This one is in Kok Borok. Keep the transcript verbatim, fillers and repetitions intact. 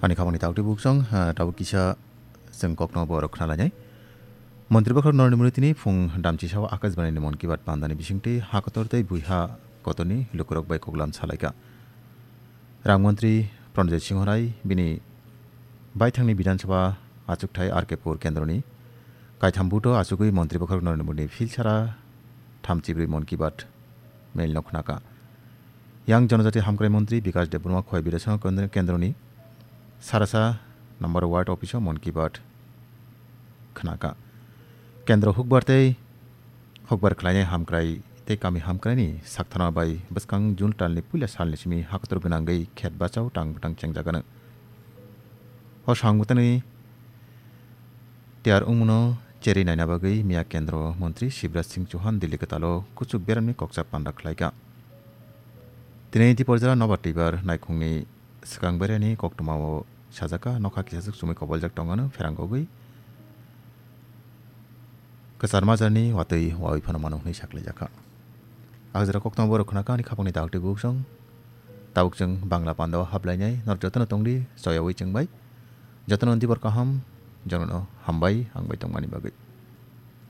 Ani khamani tawtwi buksong, ha, tabuk kisa chwng kokno borok khna lainai. Montri Bokhorok Narendra Modi tini phung damchi sao Akashbani ni Mon Ki Baat pandani bisingtwi ha kotor tei buiha kotorni lukurok bai koklam salaikha. Rang Montri Pranajit Singh Rai bini baithangni Bidhan Sabha achukthai R K Pur kendroni kaitham buto achugwi Montri Bokhorok Narendra Modi ni philsara thamchibrwi Mon Ki Baat mail no khnakha. Yang Jonojati Hamkrai Montri Bikash Debbarma Khowai Bidasango Kendroni Sarasa number ward office o Mon Ki Baat khnakha. Kendro hukbar tei hukbar khlainai hamkrai tei kami hamkraini sakthana bai bwskang June talni puila salni simi hakotor gwnangwi khet bachao tang bwtang chengjagano. O swngmwtani tiyar wngmano cherwi naina bagwi miya kendro montri Shivraj Singh Chauhan Delhi kwtalo kuchuk beramni koksa panda khlaikha. Tini Diporjala nobar twibar naikhungni swkang berani koktwmao sajakha, nokha kisaswk chumui koboljak tongmano pherang kogwi kwchar majarni watwi wawi phano mano hwnwi saklaijakha. Ajra koktwma borok khwnakha ani khapangni daktwi buksong. Tabuk chwng Bangla pandao hablainai norok jotono tongdi choyawi chwngbai. Jotono dibor kaham, jotono hambai ang bai tongmani bagwi.